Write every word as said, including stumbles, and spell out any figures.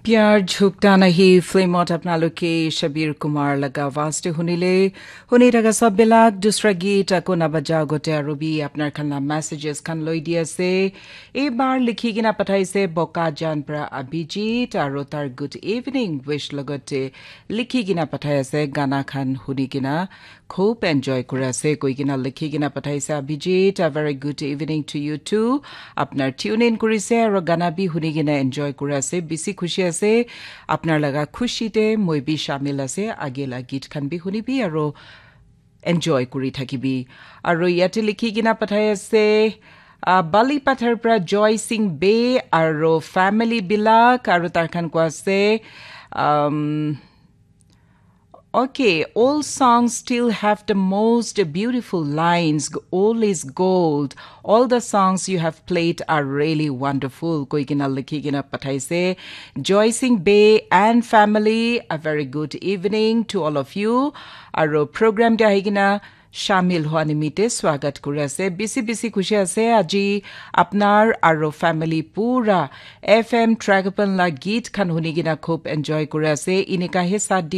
Pyar Jhukta Nahi film ot apnaloke Shabir Kumar laga awaaz te hunile, huni thaka sab bilak dusra geet ako nabaja agote aru bi apnar khan la messages khan loi di ase. Ebar likhi kena pathaise Bokajan pra Abhijit aru tar good evening wish logote likhi kena pathai ase gana khan huni kena khub enjoy kuri ase koi kena likhi kena pathaise Abhijit. A very good evening to you too. Apnar tune in kuri ase aru gana bi huni kena enjoy kuri ase. Bisi khushi ase. Apnar laga khushi te moi bi shamil ase. Age la geet khan bi huni bi aru enjoy kuri thakibi. Aru yate likhi kena pathai ase, uh, Bali Pathar pra Joy Singh Bey aru family bilak aru tar khan koi ase, um, okay, all songs still have the most beautiful lines. All is gold. All the songs you have played are really wonderful. Koi kena likhi kena pathaise. Joy Singh Bey and family, a very good evening to all of you. Aru program te ahi kena shamil hua nimite swagat kuri ase. Bisi bisi khushi ase aji apnar aru family pura F M Tragapan la geet khan huni kena khub enjoy kuri ase. Inika he sath di